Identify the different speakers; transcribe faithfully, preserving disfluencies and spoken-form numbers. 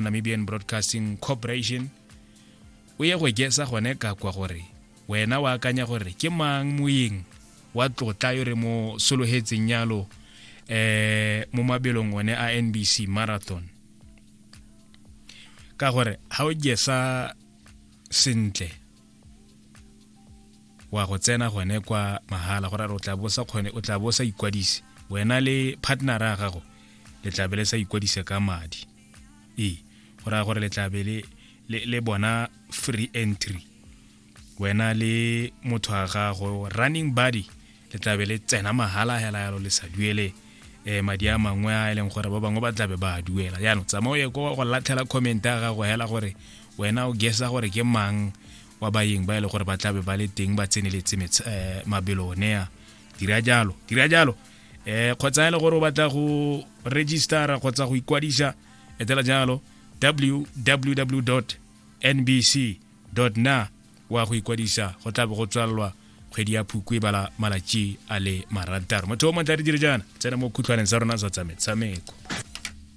Speaker 1: Namibian Broadcasting Corporation. O ye go gesa gone ka kwa gore wena o akanya gore ke mang moeng wa tlotla yo re mo sologetseng yalo eh mo mabelong one a N B C Marathon, ka gore ha o gesa sentle wa go tsena gone kwa mahala, gore o tla bo sa kgone, o tla bo sa ikwadise, wena le partner ya gago le tla be le sa ikwadise ka madi. Ee, go raya gore le tla be le le bona free entry, wena le motho wa gago, running buddy, le tla be le tsena mahala hela yalo, le sa duele um madi a mangwe a e leng gore ba bangwe ba tlabe ba a duela. Jaanong tsamaya o ye ko go latlhela comment ya gago hela gore wena o gesa gore ke mang wa baeng ba e le gore ba tlabe ba le teng ba tseneletse mabelo one a. Dira jalo, dira jalo. um kgotsa e le gore o batla go registera kgotsa go ikwadisa, etela jalo W W W N B C na wa go ikwadisa. Go tla be go tswalelwa kgwedi ya Phukwi e bala malatsi a le marataro. Motho o montle, re dire jaana, tsena mo khutlhwaneng sa rona sa tsa metshameko.